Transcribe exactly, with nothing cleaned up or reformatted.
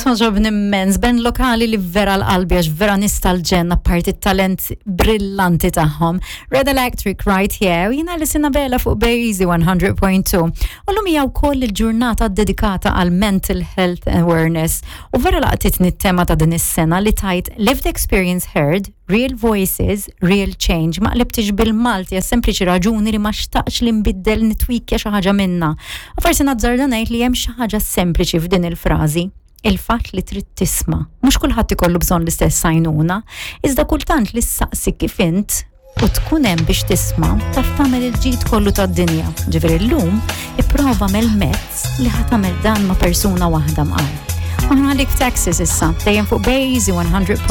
Togħġobni immens, band lokali li vera l-qalbi għax vera nies tal-ġenn apparti talent brillanti tagħhom. Red Electric right here, jiena Alison Abela fuq Bejzi one hundred point two. U llum hija wkoll il-ġurnata dedikata għal Mental Health Awareness. U vera laqtitni t-tema ta' din is-sena li tgħid "Lived Experience Heard, Real Voices, Real Change". Ma qlibtix bil-Malti għas sempliċi raġuni li ma xtaqx li nbiddel nitwikja xi ħaġa minna. U forsi nazzarda ngħid li hemm xi ħaġa sempliċi f'din il-frażi, il-fatt li trid tisma'. Mhux kulħadd ikollu bżonn l-istess għajnuna, iżda kultant li ssaqsi kif int u tkun hemm biex tisma' taf tagħmel il-ġid kollu tad-dinja. Ġifieri llum ipprova agħmel mezz li ħa tagħmel dan ma' persuna waħda mqar. Aħna għalik Texas issa, dejjem fuq Bejzi one hundred.